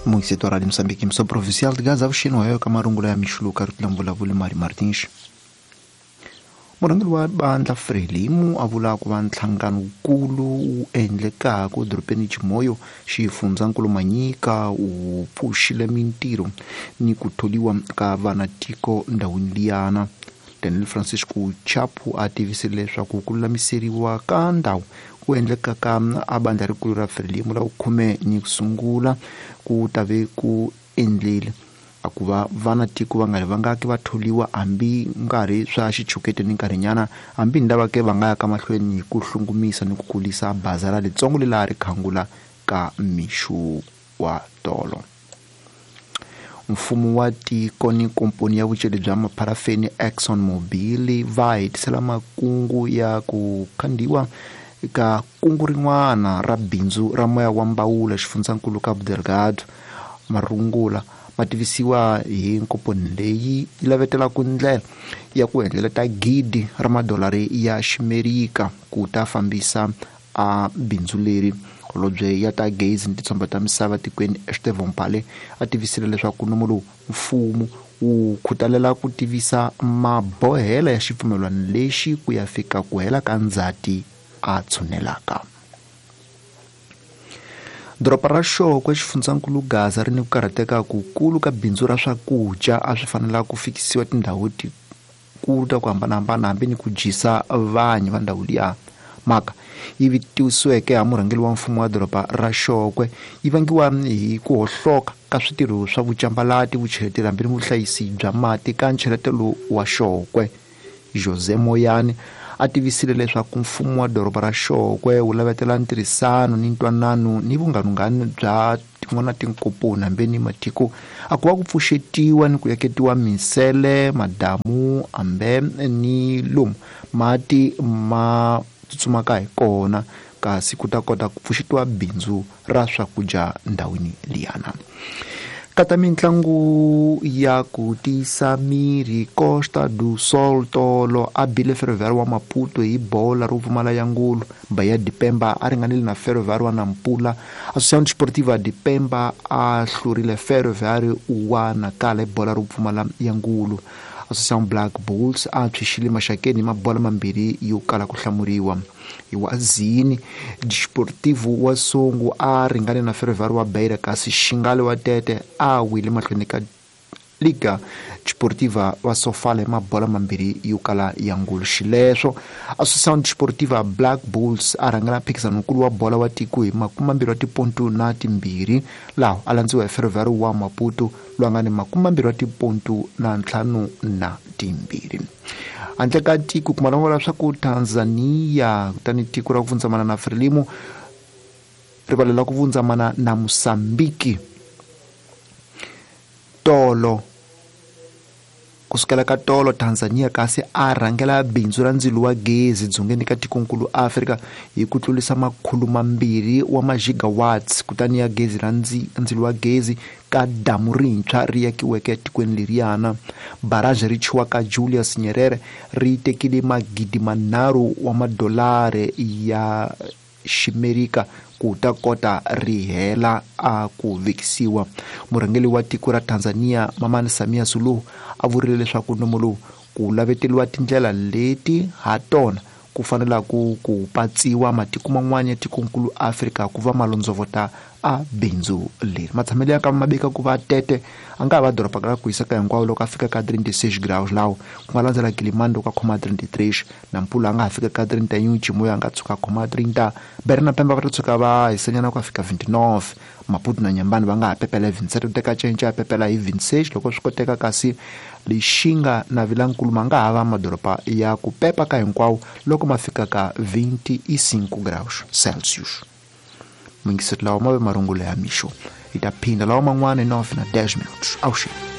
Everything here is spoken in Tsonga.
Muingiseti wa Radio Moçambique, Missão Provincial de Gaza, avuxeni wa ka marungula ya mixuluka ri tlula mbulavulo Mari Martins. Murhangeri wa bandla Frelimo a vula ku va nhlangano wukulu wu endlekaka edorobeni Chimoio, xifundzankulu Manyika wu pfuxile mintirho ni ku tholiwa ka vanatiko ndhawini liyana. Daniel Francisco Chapo a tivisile leswaku ku lulamiseriwa ka ndhawu ku endlekaka a bandla rikulu ra Frelimo la vukhume ni ku sungula ku ta ve ku endlile a ku va vanatiko va nga ri vangaki va tholiwa hambi nkarhi swa xichukete ni nkarhinyana, hambi ni lava ke va nga ya ka mahlweni hi ku hlungumisa ni ku kulisa bazara litsongo lelaha ri khangula ka mixo wa tolo. Mfumo wa tiko ni komponi ya vuceli bya mapharafeni Exxon Mobil va hetisela makungu ya ku khandiwa ka kungu rin'wana ra bindzu ra moya wa mbawula xifundzankulu Cabo Delgado. Marungula ma tivisiwa hi nkomponi leyi yi lavetelaka ndlela ya ku endleleta gidi ra madolari ya ximerika ku ta fambisa a bindzu leri. Holobye ya ta gezi ni titshomba ta misava tikweni Estevão Pale a tivisile leswaku nomo lowu mfumo wu khutalela ku tivisa mabohela ya xipfumelwano lexi ku ya fika ku hela ka ndzhati a tshunelaka. Doroba ra Xokwe xifundzankulu Gaza ri ni ku karhateka kukulu ka bindzu ra swakudya a swi fanela ku fikisiwa tindhawu tikulu ta ku hambanahambana hambi ni ku dyisa vanhu va ndhawu liya. Mhaka yi vitisiweke ha murhangeri wa mfumo wa doroba ra Xokwe yi vangiwa hi ku hohloka ka switirho swa vucambalati, vucheleteri hambi ni vuhlayisi bya mati ka ncheletelo wa Xokwe. Jose Moyane a tivisile leswaku mfumo wa doroba ra Xokwe wu lavetela ntirhisano ni ntwanano ni vunghanunghanu bya tin'wana tinkomponi hambi ni matiko a ku va ku pfuxetiwa ni ku yaketiwa minsele, madamu hambe ni lomu mati ma tsutsumaka hi kona, kasi ku ta kota ku pfuxetiwa bindzu ra swakudya ndhawini liyana. Kata mintlangu ya ku tiyisa miri, Costa do Sol tolo a bile Ferroviário wa Maputo hi bola ro pfumala ya ngulu. Bahia de Pemba a ringanile na Ferroviário wa Nampula. Associação Desportiva de Pemba a hlurile Ferroviário wa Nacala hi bola ro pfumala ya ngulu. Associação Black Bulls a tshwixile Maxakeni hi mabola mambirhi yo kala ku hlamuriwa. Hi wa Zini Desportivo wa Songo a ringane na Ferroviário wa Beira, kasi Xingale wa Tete a wile mahlweni ka Liga Desportiva wa Sofala hi mabola mambirhi yo kala ya ngulu. Xileswo Associação Desportiva Black Bulls a rhangela mphikizano-nkulu wa bola wa tiko hi 20 wa tipontu na timbirhi, laha a landziwa hi Ferroviário wa Maputo loyi a nga ni 22 wa tipontu na ntlhanu na timbirhi. Handle ka tiko kuma langula swa ku Tanzania, kutani tiko ra ku vundzamana na Frelimo rivala la ku vundzamana na Mosambiki tolo kusukela ka tolo Tanzania kasi a rhangela bindzu ra ndzilo wa gezi dzongeni ka tikonkulu Afrika hi ku tlurisa 200 wa magigawatts kutani ya gezi ra ndzilo wa gezi ka damu rintshwa ri yakiweke etikweni leriyana. Barrage ri chiwaka Julius Nyerere ri tekile 3,000 wa madolari ya ximerika ku ta kota ri hela a ku vekisiwa. Murhangeri wa tiko ra Tanzania Mamani Samia Suluhu a vurile leswaku nomo lowu ku laveteriwa tindlela leti ha tona ku fanelaka ku patsiwa matiko man'wana ya tikonkulu Afrika ku va malondzovota a bindzu leri. Matshamelo ya ka mabeka ku va Tete a nga ha va doroba ra ku hiseka hinkwawo loko a fika ka 36 graus, lawo ku nga landzela Kilimani loko a khoma 33, Nampula a nga ha fika ka 31, Chimoio a nga tshuka a khoma 30, Beira na Pemba va ta tshuka va hisanyana ku ya fika 29, Maputo na Nyambani va nga ha pepela hi 27, ku teka cinca ya pepela hi 26 loko swi koteka, kasi Lixinga na Vilankulu ma nga ha va madoroba ya ku pepa ka hinkwawo loko ma fika ka 25 graus Celsius. Mingiseti lawa ma ve marungula ya mixo. Hi ta phinda lawa man'wana hi 9 na 10 minutos. Avuxeni.